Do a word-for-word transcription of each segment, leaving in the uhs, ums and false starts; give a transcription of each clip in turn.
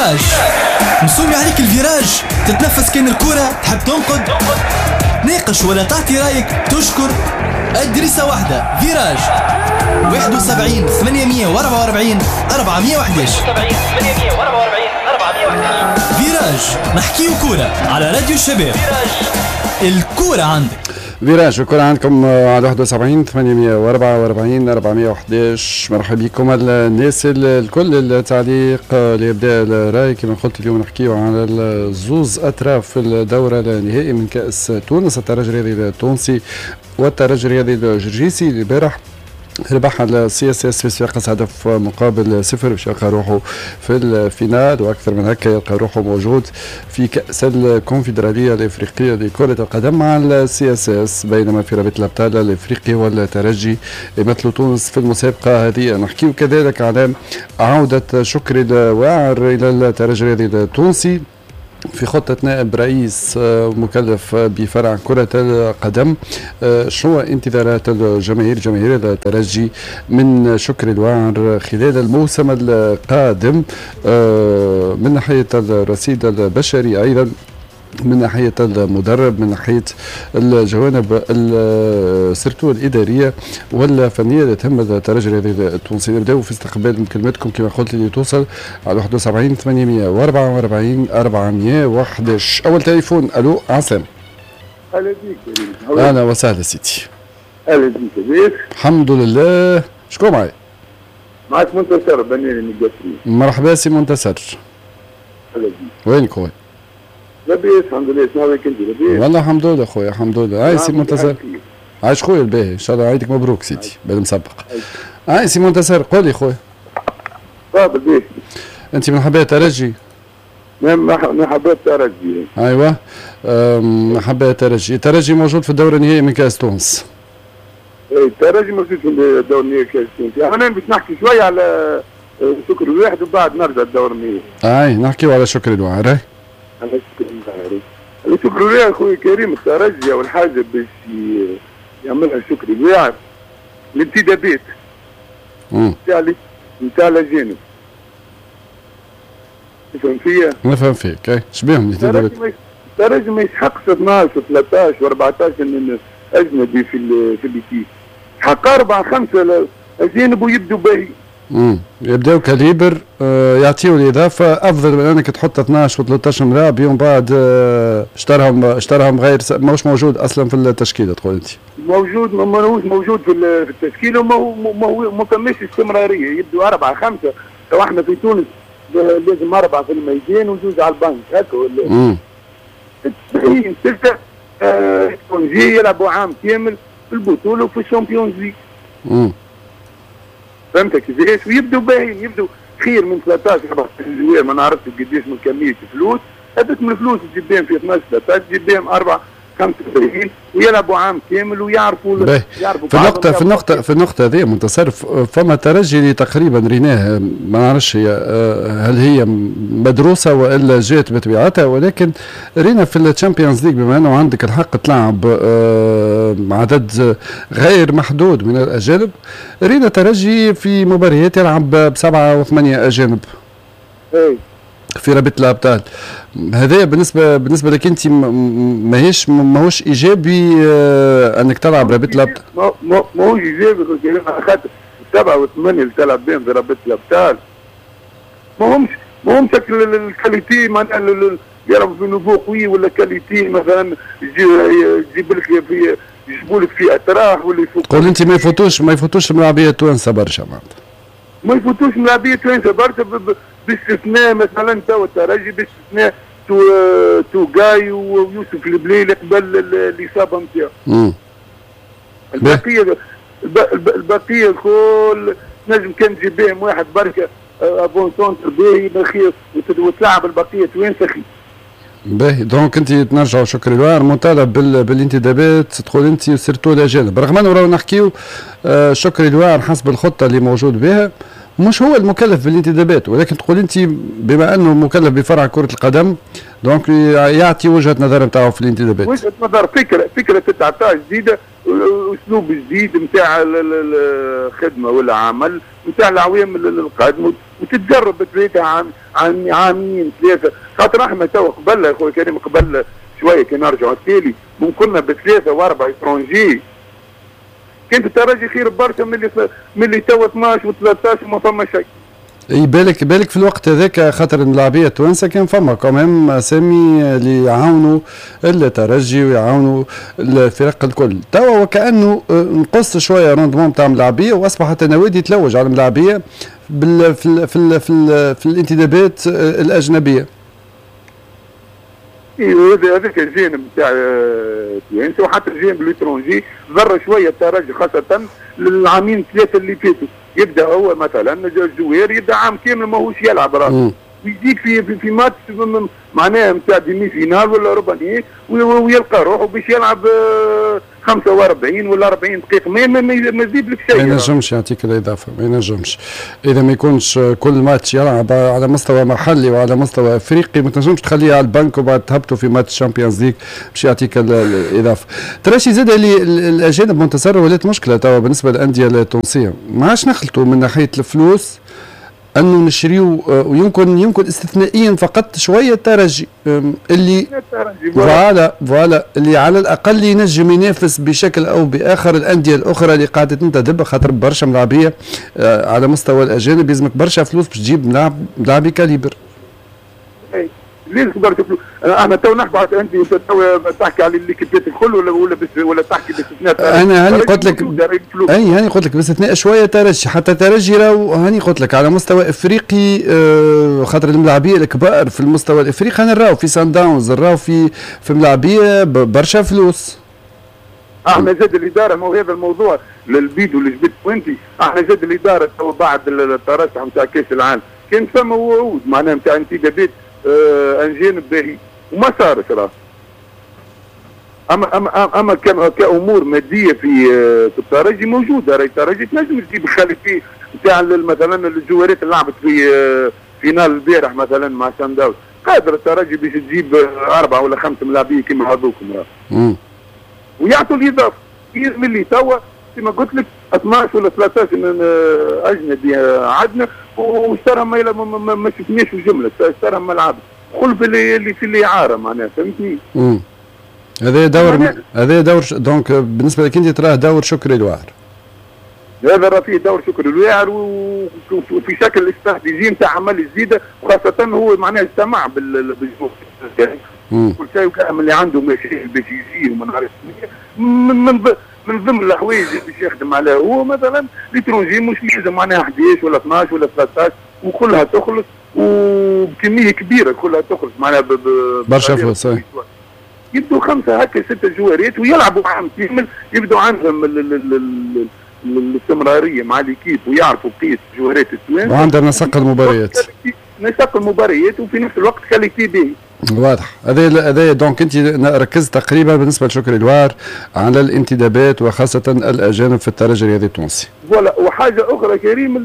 فيراج مسومي عليك الفيراج، تتنفس كان الكرة، تحب تنقد تناقش ولا تعطي رايك، تشكر. الدريسة واحدة فيراج واحد وسبعين ثمانمية وأربعة وأربعين أربعمية وأحد عشر. فيراج نحكيو كورة على راديو الشباب. الكورة عندك فيراج، الكرة عندكم على واحد وسبعين ثمانمية وأربعة وأربعين أربعمية وأحد عشر. مرحبا بكم الناس الكل. التعليق لإبداء الرأي كما قلت اليوم نحكيو على الزوز أطراف في الدورة النهائي من كأس تونس، الترجي الرياضي التونسي والترجي الرياضي الجرجيسي. البارح ربح ال CSS في صفاقس هدف مقابل صفر باش يلقى روحه في ال finale، واكثر من هكا يلقى روحه موجود في كاس الكونفدراليه الافريقية لكرة القدم مع ال CSS، بينما في رابطه الابطال الافريقي والترجي يمثلوا تونس في المسابقة هذه. نحكيو كذلك على عوده شكري الواعر الى الترجي الرياضي التونسي في خطة نائب رئيس مكلف بفرع كرة القدم. شنو انتظارات الجماهير جماهير الترجي من شكري الواعر خلال الموسم القادم من ناحية الرصيد البشري، أيضا من ناحية المدرب، من ناحية الجوانب surtout الإدارية والفنية اللي تهم الترجي الرياضي التونسي. نبداو في استقبال مكالماتكم كما قلت اللي توصل على واحد وسبعين ثمانمية وأربعة وأربعين أربعمية وأحد عشر. أول تليفون، ألو عسلامة. أهلا بيك. أهلا وسهلا سيدي. أهلا بيك، لاباس؟ الحمد لله. شكون معي؟ معك منتصر بنيري من القصرين. مرحبا سي منتصر. أهلا بيك. وينك خويا؟ لاباس الحمد لله، شنو رايك انت لاباس؟ والله الحمد لله خويا، الحمد لله. هاي سي منتصر، عايش خويا الباهي، ان شاء الله عيدك مبروك سيدي بالمسبق. هاي سي منتصر، قول لي خويا. تفضل باهي. انت من حبايب الترجي؟ من حبايب الترجي. ايوه، من حبايب الترجي، الترجي موجود في الدور النهائي من كاس تونس. اي الترجي موجود في الدور النهائي كاس تونس. انا باش نحكي شوية على شكري الواحد وبعد نرجع للدور النهائي. اي نحكيو على شكري الواعر. شكري الواعر خويا كريم، الترجي اول حاجة باش يعملها شكري الواعر الانتدابات نتاع نتاع الاجانب. تفهم فيا؟ نفهم فيك. اي شبيهم الانتدابات؟ الترجي ما يسحقش اثناش وثلاثطاش وأربعطاش اجنبي في في l'équipe، حق اربعة خمسة اجانب ويبدوا باهي. امم يبداو calibre، آه يعطيو الاضافة افضل من انك تحط اثناش و ثلاثطاش ملاعب يوم بعد آه اشتراهم اشتراهم غير ماهوش موجود اصلا في التشكيلة. تقول انت موجود ماهوش موجود في التشكيلة وما ما ما فماش استمرارية، يبدو اربعة خمسة. لو احنا في تونس لازم اربعة في الميدان وزوج على البنك هكا ولا تسعين ستة آه يلعبوا عام كامل في البطولة وفي ال Champions League. امم فهمت كيفاش؟ ويبدو باهيين، يبدو خير من ثلاثطاش أربعطاش joueur، ما نعرفش قداش من كمية فلوس، هذوك من الفلوس تجيب بهم في اثناش ثلاثطاش تجيب بهم أربعة خمسة باهيين ويلعبوا عام كامل ويعرفوا يعرفوا. في النقطة في النقطة في النقطة هذه منتصر، فما ترجي اللي تقريبا ريناه، ما نعرفش هي هل هي مدروسة والا جات بطبيعتها، ولكن رينا في ال Champions League بما انه عندك الحق تلعب عدد غير محدود من الاجانب، رينا ترجي في مباريات يلعب بسبعة وثمانية اجانب. اي في رابطة الابطال. هذا بالنسبة بالنسبة لك انت ماهيش ماهوش ايجابي انك تلعب رابطه الابطال؟ ماهوش ايجابي خاطر السبعة والثمانية اللي تلعب بهم في رابطه الابطال ما همش ما همش ال qualité، معناها يلعبوا في niveau قوي ولا qualité مثلا يجيب لك في يجيبوا لك في اطراح ولا يفوق. قول انت ما يفوتوش ما يفوتوش الملاعبيه التوانسة برشا معناتها. ما يفوتوش ملاعبيه التوانسة برشا باستثناء مثلا تو الترجي، باستثناء تو توغاي ويوسف البليلي قبل الاصابة نتاعو. البقية البقية الكل نجم كان تجيب بهم واحد بركة avant-centre باهي بخير وتلعب البقية توانسة خير. باهي، donc انت تنرجعوا شكري الواعر مطالب بالانتدابات تقول انت surtout الاجانب، رغم انه راهو نحكيو شكري الواعر حسب الخطة اللي موجود بها مش هو المكلف بالانتدابات، ولكن تقول انت بما انه مكلف بفرع كره القدم donc يعطي وجهه نظر نتاعو في الانتدابات. وجهه نظر، فكرة فكرة تتعطى جديدة، اسلوب جديد نتاع الخدمة ولا عمل نتاع العوام القادمة، وتتجرب بثلاثة عام عام عامين ثلاثة، خاطر احنا تو قبل يا خويا كريم قبل شوية كي نرجعوا التالي ممكن بثلاثة واربعة étrangers كانت الترجي خير برشا من اللي من اللي تو اثناش وثلاثطاش وما فما شيء. اي بالك بالك في الوقت هذاك خاطر الملاعبيه التوانسة كان فما quand même اسامي اللي يعاونوا الترجي ويعاونوا الفرق الكل، توا وكانه نقص شوية rendement تاع الملاعبيه واصبحت النوادي تلوج على الملاعبيه بال في ال في ال في, ال في الانتدابات الاجنبية. اي هذا هذاك الجانب نتاع التوانسة وحتى الجانب l'étranger ضر شوية الترجي خاصة للعامين ثلاثة اللي فاتوا. يبدا هو مثلا ال joueur يبدا عام كامل ماهوش يلعب راه ويجيك في في, في ماتش معناها نتاع demi-finale ولا ربع نهائي ويلقى روحه باش يلعب خمسة وأربعين ولا أربعين دقيقة ما ما يزيد لك شيء. ما ينجمش يعطيك الإضافة، ما ينجمش إذا ما يكونش كل ماتش يلعب على مستوى محلي وعلى مستوى أفريقي ما تنجمش تخليه على البنك وبعد تهبطه في match Champions League باش يعطيك الإضافة. تراشي زاد اللي الأجانب منتصر ولات مشكلة توا بالنسبة للأندية التونسية، ما عادش نخلطوا من ناحية الفلوس انه نشريو، ويمكن يمكن استثنائيا فقط شوية الترجي اللي voilà voilà اللي على الاقل ينجم ينافس بشكل او باخر الاندية الاخرى اللي قاعدة تنتدب، خاطر برشا ملاعبيه على مستوى الاجانب يلزمك برشا فلوس باش تجيب ملاعب ملاعبي calibre. اي لازم برشا فلوس. احنا تو نحكوا انت تو تحكي على les équipes الكل ولا ولا بس ولا تحكي باستثناء؟ انا هاني قلت لك اي هاني قلت لك باستثناء شوية ترجي، حتى ترجي راهو هاني قلت لك على مستوى افريقي آه خاطر الملاعبيه الكبار في المستوى الافريقي نراو في سان داونز نراو في في ملاعبيه برشا فلوس. احنا زاد الادارة ما هو هذا الموضوع للبيد واللي جبت وانت، احنا زاد الادارة تو بعد الترشح نتاع كاس العالم كان فما وعود معناها نتاع انتدابات آه انجانب باهي وما صارش راه. اما اما اما كامور مادية في في الترجي موجودة، راهي الترجي تنجم تجيب qualité نتاع مثلا الجوارات اللي لعبت في finale البارح مثلا مع سان داونز، قادر الترجي باش تجيب اربعة ولا خمسة ملاعبيه كيما هذوكم راه. ويعطوا الاضافة من اللي توا كما قلت لك اثناش ولا ثلاثطاش اجنبي عندنا واشتراهم ما, ما, ما شفناش في الجملة، اشتراهم ما لعبش خلف اللي اللي في الاعارة معناها فهمتني؟ امم هذا دور هذا دور donc بالنسبة لك انت تراه دور شكري الواعر. هذا راه فيه دور شكري الواعر وفي شكل استراتيجي نتاع عمل جديدة، وخاصة هو معناها اجتمع بالجمهور كل شيء وكان اللي عنده مشاكل باش يجي وما نعرفش من من من ضمن الحوايج اللي باش يخدم عليها هو مثلا l'étranger مش لازم معناها احداش ولا اثناش ولا ثلاثطاش وكلها تخلص وبكميه كبيرة كلها تخلص معناها برشا فلوس. يبدوا خمسة هكا ستة جوارات ويلعبوا عام كامل، يبدوا عندهم الاستمرارية مع l'équipe ويعرفوا بقية جوارات التوانسة وعندهم نسق المباريات نسق المباريات وفي نفس الوقت qualité باهي. واضح هذا هذا donc انت ركزت تقريبا بالنسبة لشكري الوار على الانتدابات وخاصة الاجانب في الترجي الرياضي التونسي. voilà وحاجه اخرى كريم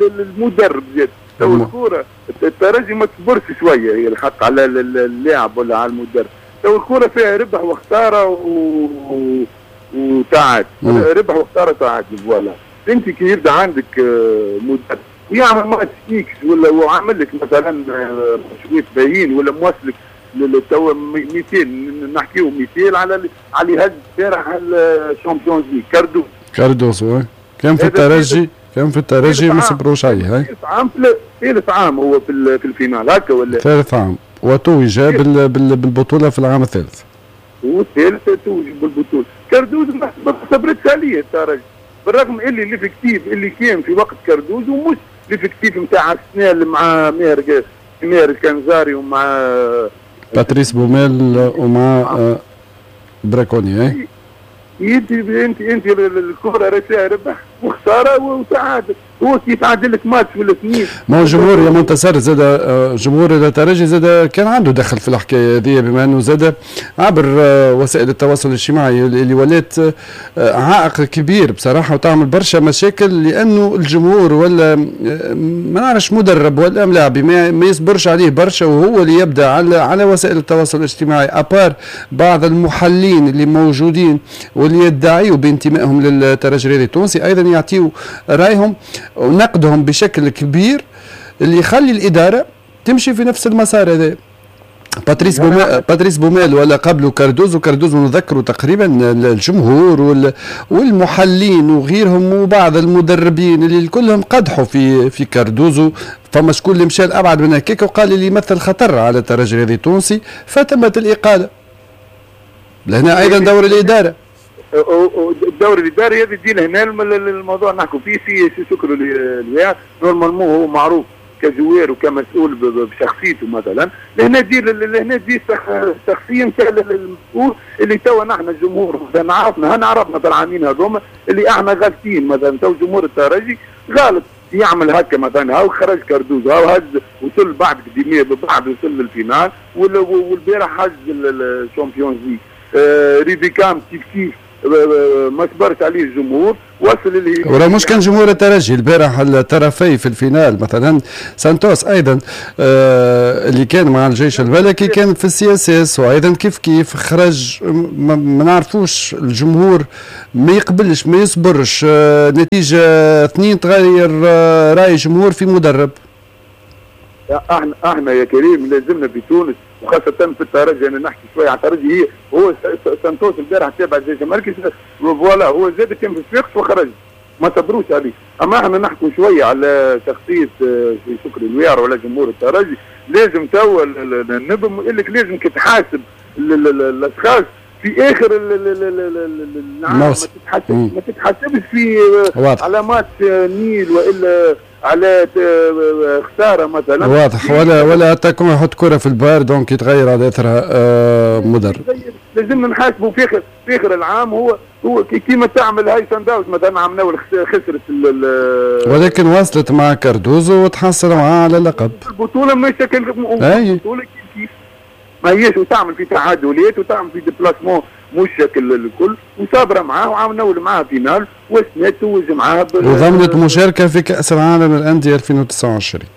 المدرب زاد تو الكورة الترجي ما تصبرش شوية هي الحق على اللاعب ولا على المدرب، تو الكورة فيها ربح وخسارة و... وتعادل، ربح وخسارة تعادل. voilà انت كي يبدا عندك مدرب ويعمل match X ولا وعمل لك مثلا شوية باهين ولا موصلك تو مثال نحكيو مثال على على هز البارح ال Champions League كاردوز كاردوز كان في الترجي كان في الترجي ما صبروش عليه. ثالث عام ثالث عام هو في في ال finale هكا ولا ثالث عام وتوج بالبطولة في العام الثالث والثالث توج بالبطولة. كاردوز ما صبرتش عليه الترجي بالرغم اللي l'effectif اللي كان في وقت كاردوز ومش l'effectif نتاع السنة اللي مع ماهر ماهر الكنزاري ومع باتريس بوميل ومع براكوني. اي انت انت انت الكره راه فيها ربح وخسارة وتعادل، هو كي يتعادل لك ماتش ولا اثنين. ما هو جمهور يا منتصر زاد جمهور الترجي زاد كان عنده دخل في الحكاية هذه بما انه زاد عبر وسائل التواصل الاجتماعي اللي ولات عائق كبير بصراحة وتعمل برشا مشاكل، لانه الجمهور ولا ما نعرفش مدرب ولا ملاعبي ما يصبرش عليه برشا وهو اللي يبدا على على وسائل التواصل الاجتماعي à part بعض المحللين اللي موجودين واللي يدعيوا بانتمائهم للترجي الرياضي التونسي ايضا يعطيوا رايهم ونقدهم بشكل كبير اللي يخلي الادارة تمشي في نفس المسار هذا. باتريس بوميل، باتريس بوميل ولا قبله كاردوزو، كاردوزو نذكروا تقريبا الجمهور والمحللين وغيرهم وبعض المدربين اللي كلهم قدحوا في في كاردوزو. فما شكون اللي مشى لابعد من هكاك وقال اللي يمثل خطر على الترجي الرياضي التونسي، فتمت الاقالة. لهنا ايضا دور الادارة. الدور الاداري هذا يجي لهنا الموضوع نحكوا فيه. سي شكري الواعر normalement هو معروف ك joueur وكمسؤول بشخصيته مثلا، لهنا تجي لهنا تجي الشخصية نتاع المسؤول اللي توا نحن الجمهور مثلا عرفنا هنا عرفنا في العامين هذوما اللي احنا غالطين. مثلا تو جمهور الترجي غلط يعمل هكا مثلا، هاو خرج كاردوزو، هاو هز وصل بعد قديمية بعد وصل لل finale، والبارح هز ال Champions League. آه ريفيكام كيف كيف ما صبرش عليه الجمهور وصل اللي وراه مش كان جمهور الترجي البارح الطرفي في ال finale مثلا سانتوس ايضا آه اللي كان مع الجيش الملكي كان في ال CSS، وايضا كيف كيف خرج. ما, ما نعرفوش الجمهور ما يقبلش ما يصبرش آه نتيجة اثنين تغير آه راي جمهور في مدرب. احنا احنا يا كريم لازمنا في تونس وخاصة في الترجي، انا نحكي شوية على الترجي. هي هو سانتوس البارح تابع الجيش المركزي voilà هو زاد كان في الصفاقس وخرج ما صبروش عليه. اما احنا نحكوا شوية على شخصية شكري الويعر ولا جمهور الترجي. لازم توا النبم يقول لك لازم تحاسب الاشخاص في اخر العام، ما تتحاسبش ما تتحاسبش في على ماتش nul والا على خسارة مثلا. واضح. ولا ولا تكون يحط كره في ال barre donc يتغير على اثرها آه مدرب. لازمنا نحاسبوا في اخر في اخر العام. هو هو كيما تعمل هاي سان مثلا عملنا خسرت ولكن وصلت مع كاردوزو وتحصل معاه على اللقب. البطولة مش البطولة كيف ما هيش، وتعمل في تعادلات وتعمل في déplacements مش شكل الكل، وصابره معاه وعملنا معاه finale وسنة توج معاه وضمنت مشاركة في كاس العالم للاندية ألفين وتسعة وعشرين.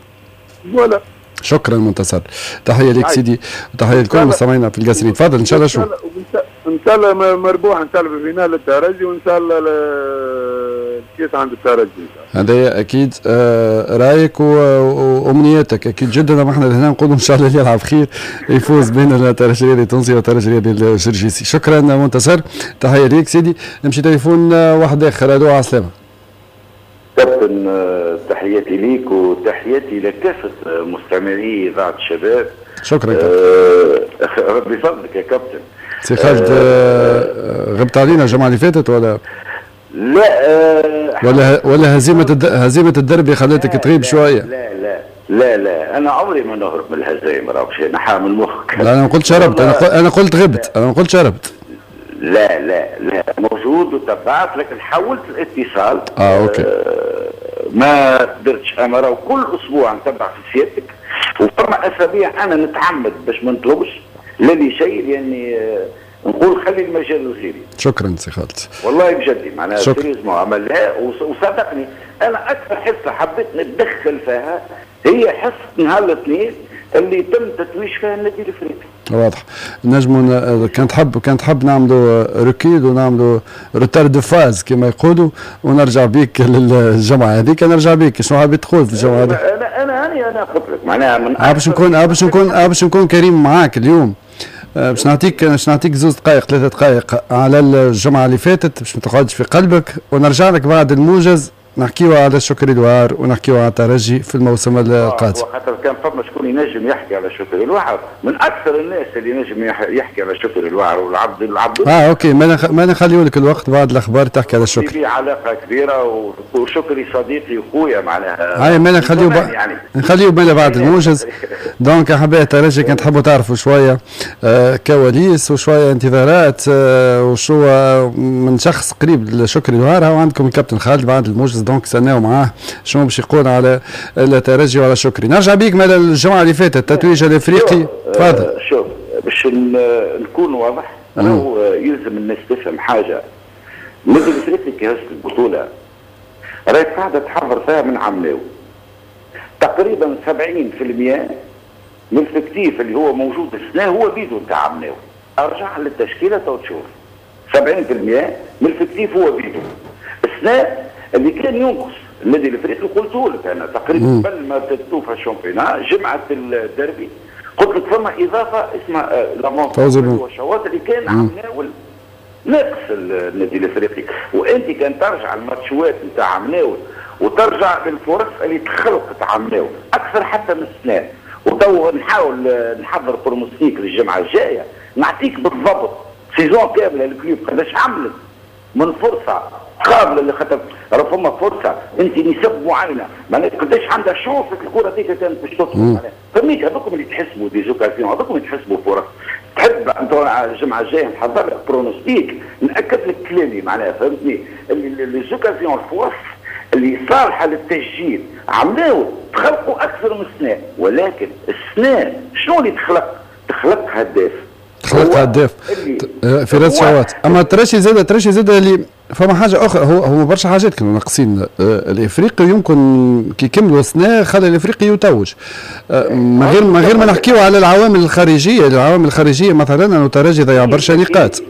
voilà. شكرا منتصر، تحية لك سيدي وتحية لكل مستمعينا في القاسرين. تفضل ان شاء الله. شو ان شاء الله مربوح ان شاء الله في finale الترجي وان شاء الله الكاس عند الترجي. هذا اكيد رايك وامنياتك اكيد جدا. احنا هنا نقولوا ان شاء الله اللي يلعب خير يفوز بين الترجي الرياضي التونسي والترجي الرياضي الجرجيسي. شكرا منتصر، تحية ليك سيدي. نمشي تليفون واحد اخر. الو على السلامة. كابتن تحياتي ليك وتحياتي لكافة مستمعي اذاعة الشباب. شكرا كابتن. أه ربي يفضلك يا كابتن. سي خالد أه غبت علينا الجمعة اللي فاتت ولا؟ لا أه ولا ولا هزيمة الد... هزيمة الدربي خلتك تغيب شوية؟ لا لا لا لا انا عمري ما نهرب من الهزايم، راه باش نحا من مخك. لا انا ما قلتش هربت، انا قل... انا قلت غبت، انا ما قلتش هربت. لا لا لا موجود وتبعت، لكن حاولت الاتصال. اه OK. آه ما قدرتش. انا راه كل اسبوع نتبع في سيادتك، وفما اسابيع انا نتعمد باش ما نطلبش لا لشيء، لاني آه نقول خلي المجال لغيري. شكرا سي خالد. والله بجدي معناها sérieusement عملها وصدقني انا اكثر حصة حبيت نتدخل فيها هي حصة نهار الاثنين اللي تم تتويج فيها النادي الافريقي. واضح. نجموا كان تحب كان تحب نعملوا recul ونعملوا retard de phase كما يقولوا ونرجع بيك للجمعة هذيك. نرجع بيك شنو حابب تقول في الجمعة هذيك؟ انا انا انا انا قلت لك معناها من باش نكون باش نكون باش نكون كريم معاك اليوم. باش نعطيك باش نعطيك زوز دقائق ثلاثة دقائق على الجمعة اللي فاتت باش ما تقعدش في قلبك، ونرجع لك بعد الموجز نحكيو على شكري الوعر ونحكيو على الترجي في الموسم القادم. خاطر كان فما شكون ينجم يحكي على شكري الوعر، من اكثر الناس اللي ينجم يحكي على شكري الوعر والعبد العبد. اه OK، ما نخ... ما نخليو لك الوقت بعد الاخبار تحكي على شكري. في علاقة كبيرة وشكري صديقي وخويا معناها. هاي ما نخليو ب... يعني. نخليو بالنا بعد الموجز. donc احبائي الترجي كان تحبوا تعرفوا شوية آه كواليس وشوية انتظارات آه وشو من شخص قريب لشكري الوعر، هاو عندكم الكابتن خالد بعد الموجز. donc استناو معاه شنو باش يقول على الترجي وعلى شكري. نرجع بيك مال الجمعة اللي فاتت التتويج الافريقي. تفضل. شوف باش نكون واضح، راهو يلزم الناس تفهم حاجة. النادي الافريقي كي هز البطولة راهي قاعدة تحضر فيها من عام تقريبا سبعين بالمئة من ال effectif اللي هو موجود السنة هو بيدو نتاع عمناو. ارجع للتشكيله تو تشوف سبعين بالمئة من ال effectif هو بيدو. السنة اللي كان ينقص النادي الافريقي قلت لك انا تقريبا قبل ما توفى ال championnat جمعه الدربي قلت لك فما اضافه اسمها l'avant والشواط اللي كان عمناول ناقص النادي الافريقي. وانت كان ترجع الماتشوات نتاع عمناول وترجع للفرص اللي تخلقت عمناول اكثر حتى من السنة، وتو نحاول نحضر pronostic للجمعة الجاية نعطيك بالضبط saison كاملة ال club قداش عملت من فرصة قابله اللي خاطر راه فما فرصة انت نسب معينة معناها قداش عندها chance الكره هذيك كانت باش تدخل معناها فهمت. هذوكم اللي تحسبوا des occasions، هذوكم اللي تحسبوا فرص. تحب انت الجمعة الجاية نحضر لك pronostic ناكد لك كلامي معناها فهمتني. les occasions الفرص اللي صالحه للتسجيل عملاو تخلقوا اكثر من السنة، ولكن السنة شنو اللي تخلق؟ تخلق هداف، تخلق هداف فراس شواط. اما ترشي زاد ترشي زاد اللي فما حاجة اخرى، هو هو برشا حاجات كانوا ناقصين الافريقي، يمكن كي كملوا السنة خلى الافريقي يتوج من غير من غير ما نحكيو على العوامل الخارجية. العوامل الخارجية مثلا انه الترجي ضيع برشا نقاط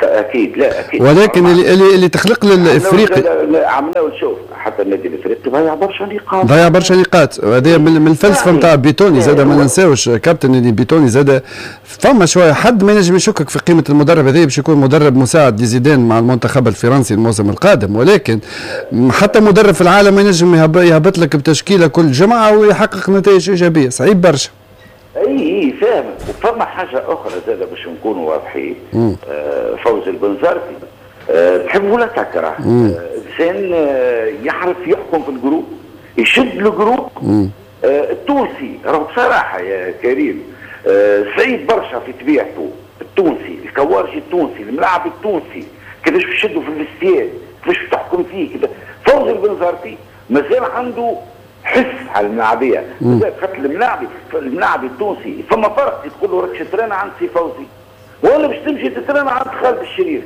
اكيد، لا اكيد، ولكن اللي اللي, اللي تخلق للافريقي عملوا شوف حتى النادي الافريقي ضيع برشا نقاط، ضيع برشا نقاط. هذا من الفلسفة نتاع بيتوني زاد، ما ننساوش كابتن اللي بيتوني زاد فما شوية حد ما ينجم يشكك في قيمة المدرب هذا باش يكون مدرب مساعد لزيدان مع المنتخب الفرنسي الموسم القادم، ولكن حتى مدرب في العالم ما ينجم يهبط لك بتشكيله كل جمعه ويحقق نتائج ايجابية، صعيب برشا. اي اي فاهم. وفما حاجة اخرى زاد باش نكونوا واضحين، آه فوز البنزرتي آه تحب ولا تكره انسان آه يعرف يحكم في ال groupe، يشد ال groupe. آه التونسي راهو بصراحة يا كريم آه صعيب برشا في طبيعته التونسي، الكوارجي التونسي، الملاعب التونسي، كيفاش تشدوا في ال vestiaire، كيفاش تحكم فيه كده. فوز البنزرتي مازال عنده حس على الملاعبيه، خاطر الملاعبي الملاعبي التونسي فما فرق كي تقول له راك تترانا عند سي فوزي ولا باش تمشي تترانا عند خالد الشريف،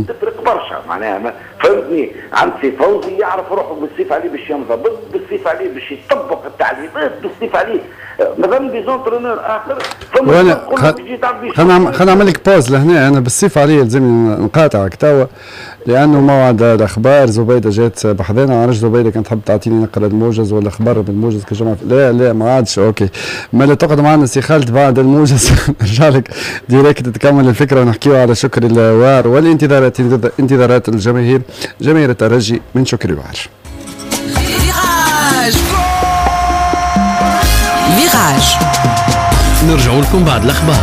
تفرق برشا معناها فهمتني. عند سي فوزي يعرف روحه بالسيف عليه باش ينضبط، بالسيف عليه باش يطبق التعليمات، بالسيف عليه. مثلا des entraîneurs اخر فما خلينا خلينا نعمل لك pause لهنا، انا بالسيف عليه لازم نقاطعك توا لانه موعد الاخبار. زبيده جات بحذانا، عرفت زبيده كانت تحب تعطيني نقرا الموجز ولا خبر بالموجز كجمعه. لا لا ما عادش OK، ما لا تقعد معنا سي خالد بعد الموجز نرجع لك direct تكمل الفكرة ونحكيو على شكري الوار والانتظارات، انتظارات الجماهير، جماهير الترجي من شكري الوار. فيراج نرجع لكم بعد الاخبار.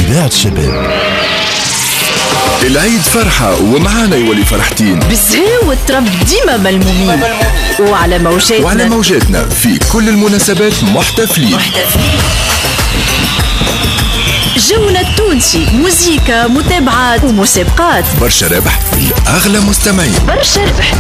إذاعة الشباب. العيد فرحة ومعانا يولي فرحتين، بالزهو والطرب ديما ملمومين، وعلى موجاتنا وعلى موجاتنا في كل المناسبات محتفلين محتفلين. جونا التونسي، موزيكا، متابعات ومسابقات، برشا ربح لأغلى مستمعين، برشا ربح.